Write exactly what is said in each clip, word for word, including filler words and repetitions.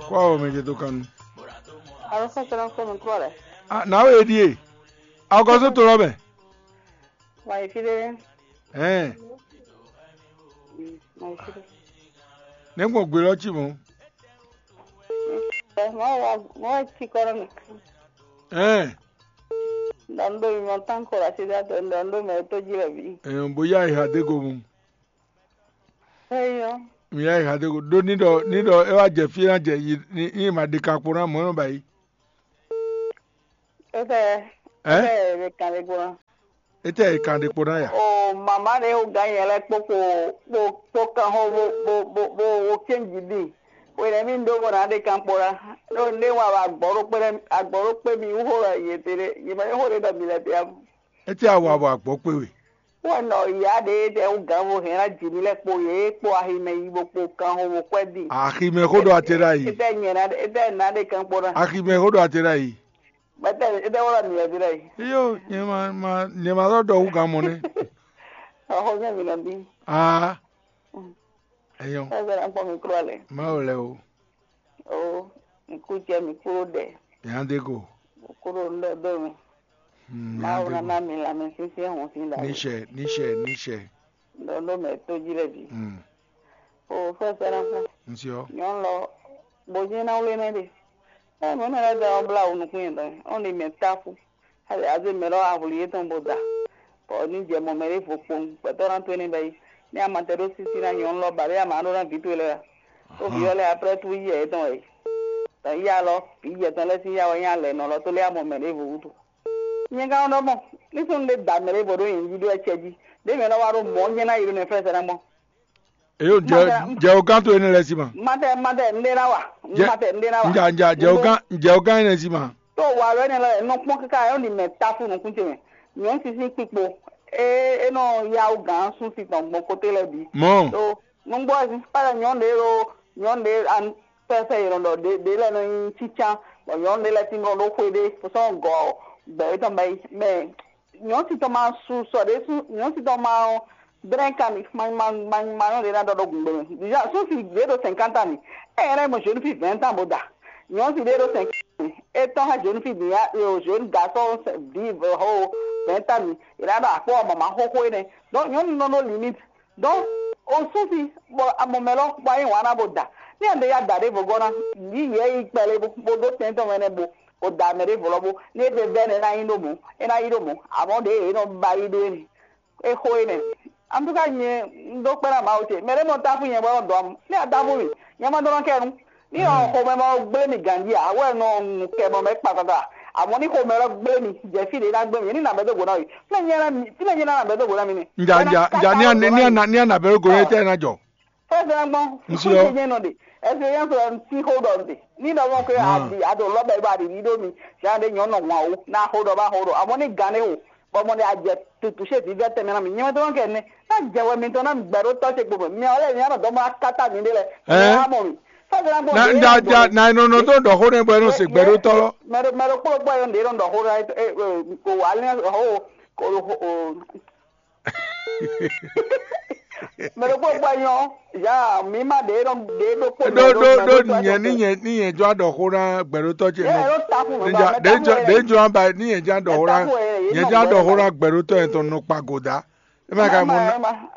Kó awɔ mɛ ce tó kan nu. Alo, fɛn sɛnɛ fɛn mi kúrò lɛ. Ah, nǎwe e ɖíe. Awɔgɔ́ só to lɔ mɛ. Wà yí fí ɖé. Ɛn. Mm, wà yí fí ɖé. Nɛ̌ gbɔn gbe lɔ cí mɔ̌? Ɛ, mɔ wá, mɔ wá cí kɔ ɖɔ mi. Ɛn. Ɖɔ un ɖo mi mɔ tán kɔ ɖo asi ɖé atɔ, ɖɔ un ɖo mɛ tó jí lɛ bǐ. Ɛn, bó yá ìhà dé go mu. Eyɔ. Mi yá ìhà dé go. Ɖó ní ɖɔ ní ɖɔ é wá jɛ fí ná jɛ yi ní ní ma ɖe kan kpo ná mɔ̌ nɔ ba yi. Étɛ Ɛ? Étɛ è kan ɖe kpo ná. Étɛ è kan ɖe kpo ná ya? O mama ɖe wo gán nyɛ lɛ kpo kpo kpo kpo kan xo bo bo bo bo wo kɛn jí ɖi. Wɛnɛ mi ɖó bɔ ná ɖe kan kpo ná. Ɖó un ɖe wa wa agbɔ̌ ɖó kpé agbɔ̌ ɖó kpé mi wú xo lɔ yě te ɖé. Yě mɛ xo ɖé ɖɔ mi lɛ bia. Étɛ awa bɔ agbɔ̌ kpé we? Wɛ nɔ ya ɖe ɖe wú gǎn vo hɛn ná jǐ mi lɛ kpo yě kpo aximɛ yi bo kpo kan xo bo kwɛ ɖi. Aximɛ xó ɖo ate ɖa yi. Étɛ nyɛ ná étɛ ná ɖe kan kpo ná. Aximɛ xó ɖo ate ɖa yi. Bɛtɛ étɛ wɔ la mi lɛ bi ɖa yi. Iyo, nyɛ ma ma nyɛ ma sɔ ɖɔ wú gǎn mɔ nɛ. Axɔ nyɛ mi nɔ bi. Aa. Eyɔn. Ɛsɛ na kpɔ mi kúrò alɛ. Mawu lɛ o. O, mi kú jɛ mi kúrò ɖɛ. Yàn dé ko. Kúrò ńlẹ dó mi. Hmm, Mawu yàn dé na ko. Na mi la mi sísí ẹ̀hún sí la. Níṣẹ́ níṣẹ́ níṣẹ́. Lɔ ló mɛ tó jí lɛ bi. Hmm. O fẹ́ sẹ́nà fún. Nsí ọ. Nyɔn lɔ, bó jí na wlé nɛ de. Ɛ mɛ mɛ lɛ dɛ ɔ bla wò nukún yẹn dɔ. Ɔn ni mɛ ta fún. Hali aze mɛ lɔ avuli yetɔn bo da. Bɔ ni jɛ mɔ mɛ ɖé vo kpowun gbɛtɔ na to ne bɛ yi. Ni ama tɛ ɖo sisi na nyɔnu lɔ ba ɖe ama ɖo na vi to lɛ. Ko vi ɔ lɛ après tout yi yɛ yetɔn wɛ. Tɔ yi alɔ, vi jɛ tɔn lɛ sin ya wɛ nya lɛ nɔ lɔ to lɛ amɔ mɛ ɖé vo wutu. Nyɛ ka ɖɔ mɔ, ní sɔn ɖe da mɛ ɖé vo ɖo yɛn jí ɖo ɛcɛ jí. Ɖe mɛ lɔ wa ɖo mɔ nyɛ na yi ɖo nɛ fɛ sɛ na mɔ. Eyo jɛ jɛ o kan to ene lɛ si ma. Matɛ matɛ nɖe na wa. Jɛ Matɛ nɖe na wa. Nja nja jɛ o kan jɛ o kan ene si ma. To wa lɔ ene lɔ nɔ kpɔn kaka yɔ ni mɛ ta fu nukun ce mɛ. Nyɔ sisi kpikpo. E e nɔ yawu gan sun si tɔn gbɔn kote lɛ bi. Mɔ. To nugbo ɛsi kpalɛ nyɔ ɖe ɖo nyɔ ɖe an pɛpɛ yɛ nɔ ɖɔ ɖe ɖe lɛ nɔ nyi tsitsan. Bɔ nyɔ ɖe lɛ ti nɔ ɖo xwe ɖe fosɔn gɔ gbɛ etɔn bɛ yi mɛ. Nyɔ̌si tɔn ma su sɔ ɖé sú nyɔ̌si tɔn ma ɔ́, drɛ́n ka mi ma ma ma ma nyɔ́ ɖě ná ɖɔ ɖó gǔgbé mɛ. Déjà sú si ɖě ɖo cinquante ans ni. Ɛ yɛ lɛ́ mɔ jeune fille vingt ans bó da. Nyɔ̌si ɖě ɖo cinquante ans ni. É tɔ́n xá jeune fille din ya yo jeune garçon vive ho vingt ans ni. È ná ɖɔ akpɔ́ mama xóxó énɛ́. Donc nyɔ̌nu nɔ ɖó limite. Donc o sú si bɔ amɔ mɛ lɔ bɔ ayé wǎn ná bó da. Ní a ɖe ya da ɖěvo gɔ́ ná, yǐ yě yi kpɛlɛ bó bó ɖó tɛn tɔn mɛ nɛ́ bó. O da mɛ ɖěvo lɔ bó. Ní é ɖe vɛ́ nɛ́ ná yi ɖó mɔ̌, é ná yi ɖó mɔ̌. Amɔ̌ ɖě yě nɔ ba yi ɖó énɛ́. É xo énɛ́. En tout cas nyɛ un ɖó kpɛ́ ná Mawu ce. Mɛ ɖé nɔ táfú nyɛ bɔ é nɔ dɔn amɔ. Ní a táfú mì, nyɛ ma ɖó ná kɛ nu. Ní ɔ xomɛ ma gblé mi ganjí ǎ, wɛ nɔ nu kɛ mɔ mɛ kpakpakpa. Amɔ̌ ní xomɛ lɔ gblé mi, jɛ fí ɖě ná gblé mi, ní nǎ bɛ́ dó gǒ ná we. Fínɛ́ nyɛ ná mi, fínɛ́ nyɛ ná nǎ bɛ́ dó gǒ ná mi nɛ́. Nja nja nja ní a ní a ní a nǎ bɛ́ dó gǒ ná tɛ́ ná jɔ. Fɛ́sɛ́ gbɔn, Ŋsí ɔ. Fúnṣe nyɛ nɔ ɖe, ɛsɛ yɛn sɔ ti xó ɖɔ ɖe. Ní ɖɔ mɔ ke a ɖi a ɖo lɔbɛ ba ɖi ɖi ɖó mi, zan ɖe nyɔ nɔ hwan o, ná xó ɖɔ ba xó ɖɔ, amɔ̌ ní gan ɖé o, bɔ mɔ ɖe a jɛ tutu ṣe vǐvɛ́ tɛnmɛ ná mi, nyɛ mɛ tó nɔ kɛ nɛ, ná jɛ wɛ mitɔn ná mi gbɛ ɖó tɔ́ ce kpo mɛ, mi ɔ lɛ mi ná nɔ dɔn mɔ ká ta mi ɖé lɛ, Ɛɛ? Ná mɔ mi. Fɛ́sɛ́ gbɔn. Na ja ja na e nɔ nɔ tó ɖɔ xó nɛ bɔ e nɔ se gbɛ ɖó tɔ́ lɔ. Mɛ ɖo mɛ ɖo kplɔ́ gbɔ yɔ ɖe nɔ ɖɔ xó ɖɔ o wa lɛ o o o Mɛ ɖokpó gbɔ nyɔ, ya mi ma ɖe ɖɔ ɖe ɖokpó ɖo ɖo ɖo ɖo nyɛ ní nyɛ ní nyɛ jɔ aɖɔ xó ná gbɛɖótɔ ce nɔ. Ɖe jɔ ɖe jɔ aba ní nyɛ jɔ aɖɔ xó ná nyɛ jɔ aɖɔ xó ná gbɛɖótɔ yẹn tɔn nɔ kpa goda. E ma ka mɔ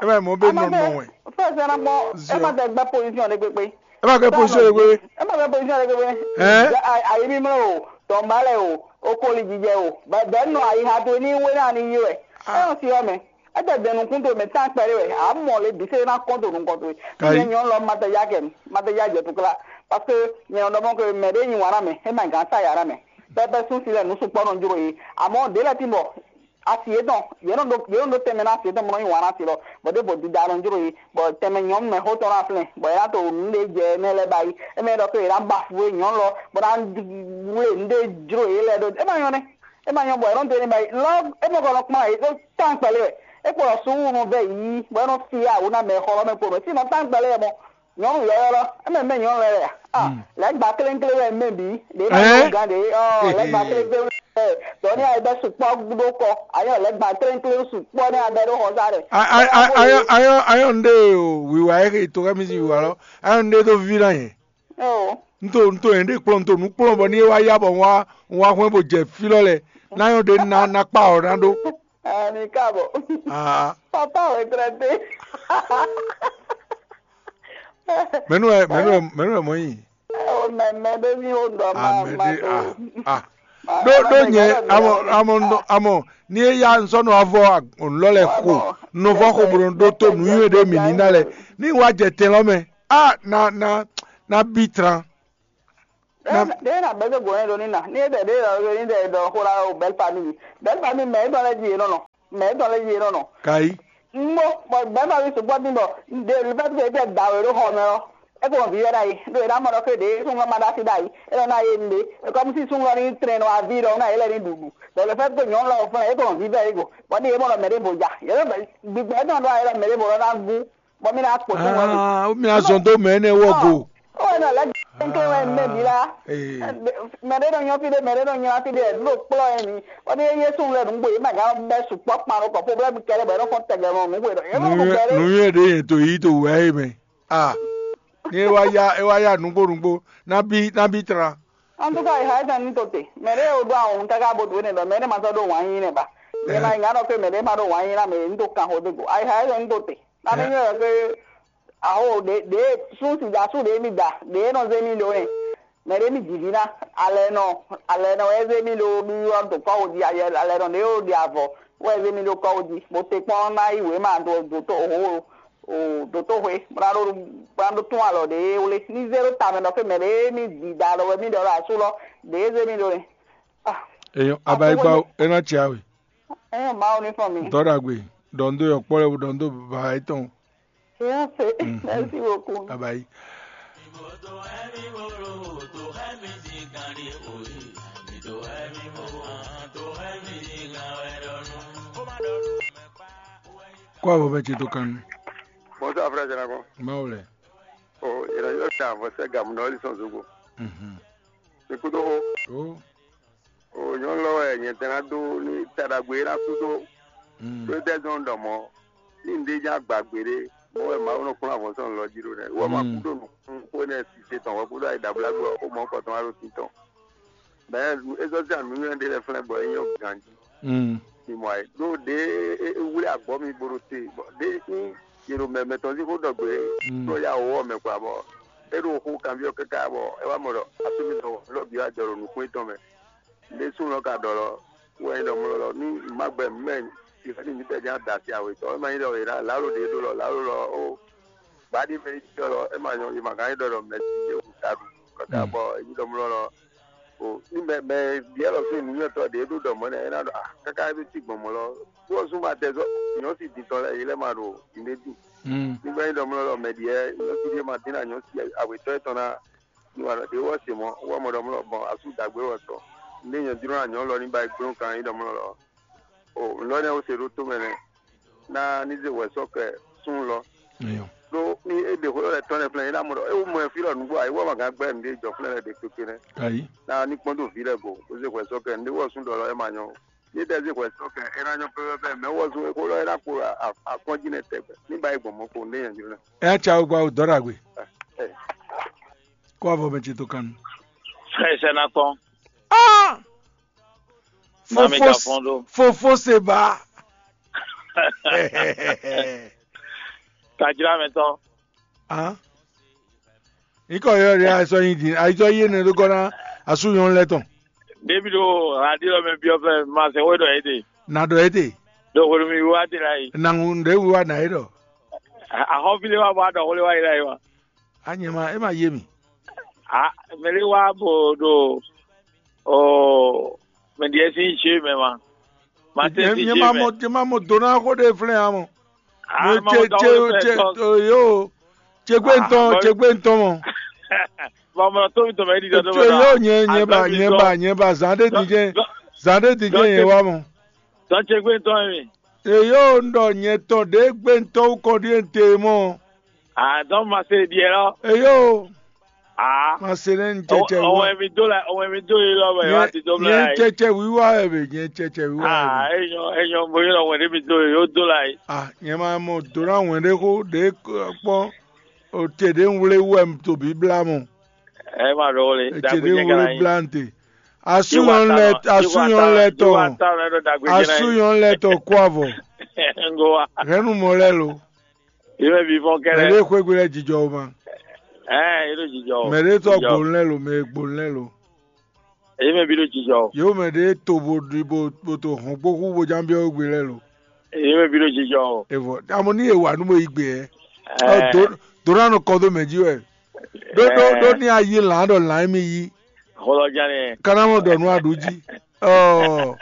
e ma mɔ bɛ nɔ nɔ wɛ. Fɛsɛ na mɔ e ma tɛ gbɛ position ɖe kpekpe. E ma gbɛ position ɖe kpekpe. E ma gbɛ position ɖe kpekpe. Ɛɛ. Ayi mi mlɛ o, tɔnba lɛ o, o koli jijɛ o, bɛ nɔ ayi ha to ní wé na ni yi wɛ. Ɛ yɔ si yɔ mɛ. Ete dɛn nukún towe mɛ tán kpɛɖé wɛ, a mɔ le bǐ sɛ́ ná kɔn to nukɔn towe. Nyɛ nyɔ̌nu lɔ ma tɛ ya kɛ ma tɛ ya jɛ tukla, parce que nyɛ nɔ ɖɔ mɔ ke mɛ ɖé nyi wǎn ná mɛ, é ma gǎn sa ya ná mɛ. Pɛpɛ sún si lɛ nǔ sukpɔ́ nɔ jló ye. Amɔ̌ ɖě lɛ́ɛ tín bɔ asi yětɔn, yě nɔ ɖó yě nɔ ɖó tɛnmɛ ná asi yětɔn bɔ nɔ nyi wǎn ná asi lɔ, bɔ ɖěvo dida nɔ jló ye, bɔ tɛnmɛ nyɔ̌nu mɛ xótɔn ná flɛ́n, bɔ é ná to nǔ ɖé jɛ énɛ́ lɛ́ɛ ba yi. É mɛ ɖɔ ke è nǎ ba fu e nyɔ̌nu lɔ, bɔ ná wlé nǔ ɖé jló yě lɛ́ɛ ɖó. É ma nyɔ́ nɛ́. É ma nyɔ́ bɔ è nɔ dó ní ba yi lɔ é mɔ kɔ nɔ kplɔ́n ayǐ ɖó tán kpɛlɛ wɛ. É kpo ɖɔ suúlu nɔ vɛ yǐ bɔ é nɔ fyá wǔ ná mɛ xɔ lɔ mɛ kpo mɛ sí nɔ tán kpɛlɛ wɛ mɔ nyɔ̌nu yɔ̌yɔ́ lɔ é mɛ mɛ nyɔ̌nu lɛ a lɛ̌ gba kléŋklé wɛ mɛ bǐ ɖě ma nyɔ́ gán ɖě ɔ lɛ̌ gba kléŋklé wɛ dɔ̌ ní ayɛ bɛ sukpɔ́ ɖó kɔ ayɔ lɛ̌ gba kléŋklé sukpɔ́ ní abɛ ɖó xɔ sá ɖɛ. Ayɔ ayɔ ayɔ ayɔ nɖe o wiwa e to kɛ mi si wiwa lɔ ayɔ nɖe to vivi na yɛ. Eo. Un to un to nyɛɖée kplɔ́n, un to nǔ kplɔ́n bɔ ní é wá yá bɔ un wá un wá hwɛ́n bó jɛ fí lɔ lɛ́ɛ, ná nyɔ́ ɖě ná ná kpá ɔ́ ná ɖó. Ɛɛ, mi ka bɔ. Aa, Papa retraité. Mɛ̌ nú wɛ mɛ̌ nú wɛ mɛ̌ nú wɛ mɔ̌ nyi? O mɛ mɛ ɖé ní o ɖɔ ma ma ɖé to. Ah, ah. Ɖó ɖó nyɛ amɔ amɔ amɔ ní é yá un sɔ́ nɔ avɔ lɔ lɛ xo nɔ vɔ xo bó nɔ ɖótó nǔnywɛ́ ɖé mǐ ní ná lɛ ní wá jɛ tɛn lɔ mɛ. Ah, ná ná ná bí tran. Ɖé na bɛ́ dó gǒ nɛ́ ɖó ní na ní é ɖɛ ɖé ɖɔ ní ɖɛ ɖɔ xó ɖa o bɛ́l famíli bɛ́l famíli mɛ é dɔn lɛ́ jí yě nɔ nɔ mɛ é dɔn lɛ́ jí yě nɔ nɔ. Kayi. Ngbó bɔ bɛ́l famíli sukpɔ́ dín bɔ ɖe le fɛ́ tɛ da wě ɖó xɔ mɛ ɔ́ é ko hɔn vǐ wɛ ɖ'ayǐ ɖó è ná mɔ ɖɔ xé ɖě súnnu ma ɖó así ɖ'ayǐ é nɔ ná yé nɖé é kɔ́ mú sí súnnu ɔ́ ní trɛn nɔ aví ɖɔ ná yě lɛ́ ní ɖuɖu bɔ le fɛ́ ko nyɔ̌nu lɔ fún é ko hɔn vǐ wɛ é go bɔ ní yě mɔ ɖɔ mɛ ɖěvo ja yě lɔ gbigbɛ é tɔn ɖɔ ayé lɔ mɛ ɖěvo lɔ ná gú bɔ mí ná kpo tó ŋɔ́ mi. Ah, mi azɔn dó mɛ énɛ́ wɔ go. Ó wɛ nɔ lɛ́ kɛnklɛn wɛ mɛ bǐ la. Ee. Mɛ ɖé nɔ nyɔ́ fí ɖé, mɛ ɖé nɔ nylá fí ɖé, ɖo kplɔ́ ɛ mi. Bɔ ní yé súnnu lɛ́ɛ nǔgbó yě mɛ gán bɛ́ sukpɔ́ kpan ɖo kɔ́ problème kɛɖɛ bɔ é nɔ fɔ́n tɛgbɛ mɔ nǔgbó ɖɔ é nɔ mɔ gbɛ ɖé. Nǔnywɛ́ ɖé yě to yí to wǔ wɛ é mɛ. Ah, ní é wá yá é wá yá nǔgbó nǔgbó ná bí ná bí tlán. En tout cas, ayihayɛ́tɔn ní to te. Mɛ ɖé o ɖó ahɔn káká bo dó ne ɖɔ mɛ ɖé ma sɔ́ ɖó wǎn yí nɛ ba. Nyɛ ma nyí ŋá ɖɔ pé mɛ ɖé ma ɖó wǎn yí ná mɛ ní to kan xó dó go. Ayihayɛ́tɔn ní to te. Ná mi nyɔ́ ɖɔ pé aho ɖě ɖě sún sida sú ɖě mi da ɖě nɔ zé mi ɖó nɛ. Mɛ ɖé mi jǐ ví ná. Alɛ nɔ alɛ nɔ wɛ zé mi ɖó ɖuɖu ɔ́ ɖo kɔ́ wo jí alɛ nɔ ɖě wo ɖi avɔ wɛ zé mi ɖó kɔ́ wo jí. Bo te kpɔ́n ná yí wěma ɖo dǒtó ho o dǒtó hwe bó ná ɖó bó ná ɖó tún alɔ ɖě wlé ní zé ɖó tamɛ ɖɔ pé mɛ ɖě mi ɖi da ɖɔ wɛ mi ɖɔ ɖo asú lɔ ɖě zé mi ɖó nɛ. Ah, Èèyàn abayigba akwɛ́ é ná tsi awe. Ɛyɔn Mawu ní fɔn mi. Dɔ́ ɖagbe, ɖɔ ń dó yɔkpɔ́ lɛ́ɛ bó ɖɔ ń dó bǎ yětɔn. Èèyàn fè. Mhm. Merci beaucoup. Abayi. Kó avɔ bɛ ce tó kan nu. Bonsoir, frère Janakɔ. Mawu lɛ. O, yɛrɛ yɔ ta vɔ sɛ gamu nɔ li sɔn zogo. Mhm. Ikudo ho. O. O nyɔnu lɔ wɛ nyɛ tɛ ná dó ní taɖagbe é ná kú dó. Mm. Ɖó tɛ zɔn ɖɔ mɔ ní un ɖe nya gba gbeɖé mɔ wɛ Mawu nɔ kplɔ́n avɔsɔn lɔ jí ɖó nɛ wɔ ma kú ɖo nukún xó nɛ sise tɔn wɛ kúɖo ayi ɖabla gbɔ ó mɔ kɔtɔn wá ɖo títɔn. Bɛn ezɔzia nǔnywɛ́ ɖé lɛ flɛ́ bɔ é nyɔ́ ganjí. Mm. Mi mɔ ayé ɖó ɖě é wlé agbɔ́ mi bo ɖo te bɔ ɖě ní yě ɖo mɛ mɛtɔn sín xó ɖɔ gbé Mm. Ɖó ya wǒ ɔ́ mɛ kpa bɔ é ɖo xó kanbyɔ́ káká bɔ é wá mɔ ɖɔ asú mi ɖɔ lɔ bǐ wá jɔ ɖo nukún étɔn mɛ. Ɖé súnnu ɔ́ ka ɖɔ lɔ wɛ nyí ɖɔ mlɔ́ lɔ ní má gbɛ mɛ ìfẹ́ ní mǐtɛ́ ján da asi awětɔn é ma nyí ɖɔ è nǎ lǎlo ɖě ɖó lɔ lǎlo lɔ ó gbǎ ɖi mɛ yi ɖɔ lɔ é ma nyɔ è ma gán nyí ɖɔ ɖɔ mɛ ti ɖé wǔ ta ɖu kaka bɔ è nyí ɖɔ mlɔ́ lɔ o ní mɛ mɛ biɛ lɔ fí nǔnywɛ́tɔ́ ɖě ɖó ɖɔ mɔ̌ nɛ́ é ná ɖɔ a káká é ɖó cí gbɔn mɔ̌ lɔ kú ɔ́ zún ma tɛ zɔ nyɔ̌ si din tɔn lɛ́ɛ yě lɛ́ ma ɖo nǔɖé ɖu Mm. ní gbɛ́ nyí ɖɔ mlɔ́ lɔ mɛ ɖiɛ nyɔ̌ si ɖé ma dín ná nyɔ̌ si awětɔ́ étɔn ná ní wà ɖě wɔ se mɔ̌ wɔ mɔ ɖɔ mlɔ́ bɔn asú dǎgbé wɔ sɔ ní nyɛ jló ná nyɔ̌ lɔ ní ba yi gbló kan nyí ɖɔ mlɔ́ lɔ o nǔ lɔ nɛ́ ó se ɖó tó mɛ nɛ́ ná ní zé wɛ sɔ́ kɛ súnnu lɔ Eyɔ. Ɖó ní é ɖe xó lɛ́ tɔn lɛ́ flɛ́n é ná mɔ ɖɔ é wú mɔ ɛ fí lɔ nǔgbó ǎ é wú ɔ́ ma gán gbɛ́ nǔɖé jɔ flɛ́n lɛ́ɛ ɖě kpékpé nɛ́ Ayi. Ná ní kpɔ́n dó vǐ lɛ́ɛ go bó zé hwɛ sɔ́ kɛ nǔɖé wɔ sún ɖɔ lɔ é ma nyɔ ó. Ní tɛ zé hwɛ sɔ́ kɛ é ná nyɔ pɛ́pɛ́pɛ́ mɛ wɔ zún é xó lɔ é ná kpo akɔ́njí nɛ́ tɛgbɛ ní ba yi gbɔn mɔ̌ kpo nǔɖé nyɛ jló ná. Ɛ ná tsa wɛ gba o dɔ́ ɖagbe. Ɛ, ɛ. Kó avɔ mɛ ce tó kan nu. Sɛ sɛ na kɔn. Ah! Na mi ka fɔn ɖo. Fofo se ba. Tajira mɛ tɔn. Ah. Ikɔ yɔ ɖe ayisɔ yin din ayisɔ yi ne ɖo gɔna asu nyɔnu lɛ tɔn. Ɖevi ɖo radio mɛ biɔ fɛ ma se wo ɖɔ ete. Na ɖɔ ete. Ɖo hwenu mi wa de la yi. Na ŋu ɖe wu wa na yi ɖɔ. Ahɔn fi le wa bɔ a ɖɔ hwle wa yi la yi wa. A nyɛ ma e ma ye mi. A mɛ le wa bo ɖo o mɛ ɖiɛ si je mɛ ma. Ma se si je mɛ. Nyɛ ma mɔ do na xo ɖe flɛ ya mɔ. Ah, ce ce ce yo ce gbe ntɔn ce gbe ntɔn mɔ. Bɔmɔ tó mi tɔmɛ ɖi dɔdɔ. Ce yo nyɛ nyɛ ba nyɛ ba nyɛ ba zan ɖe di jɛ zan ɖe di jɛ yɛ wa mɔ. Tɔn ce gbe ntɔn mi. Eyo n ɖɔ nyɛ tɔn ɖe gbe ntɔn wú kɔn ɖi ente mɔ. Ah, donc ma se ɖiɛ lɔ. Eyo. Ah. Ma se nɛ n cɛcɛ wiwa. Ɔwɛ mi do la ɔwɛ mi do yi lɔ bɛ wa ti do bla yi. Nyɛ cɛcɛ wiwa wɛ bɛ nyɛ cɛcɛ wiwa wɛ. Ah, enyɔ enyɔ mo yi lɔ wɛ ɖe mi do yi o do la yi. Ah, nyɛ ma mɔ do na wɛn ɖe xo ɖe kpɔn o te ɖe n wle wɛ to bi bla mɔ. Ɛ ma ɖɔ le. Etsɛɖé wúlú blante. Asúnyɔn lɛ asúnyɔn lɛ tɔn. Asúnyɔn lɛ tɔn kó avɔ. Ngo wa. Hɛnnu mɔ lɛ lo. Yé mɛ bi fɔn kɛlɛ. Mɛɖé xwégbe lɛ jijɔ o ma. Ɛ yé ɖo jijɔ o. Mɛɖé tɔ gbonu lɛ lo, mɛ gbonu lɛ lo. Yé mɛ bi ɖo jijɔ o. Yewu mɛɖé to bo ɖi bo bo to hɔn gbóxú bo ján biɔ gbe lɛ lo. Yé mɛ bi ɖo jijɔ o. Evɔ amɔ ní ewa nú mo yi gbe ɛ. Ɔ do do na nɔ kɔ do mɛ jí wɛ. Ɖó ɖó ɖó ní ayi lǎn ɖɔ lǎn mi yí. Xɔlɔ ján ni. Kana mɔ ɖɔ nú aɖu jí. Ɔ.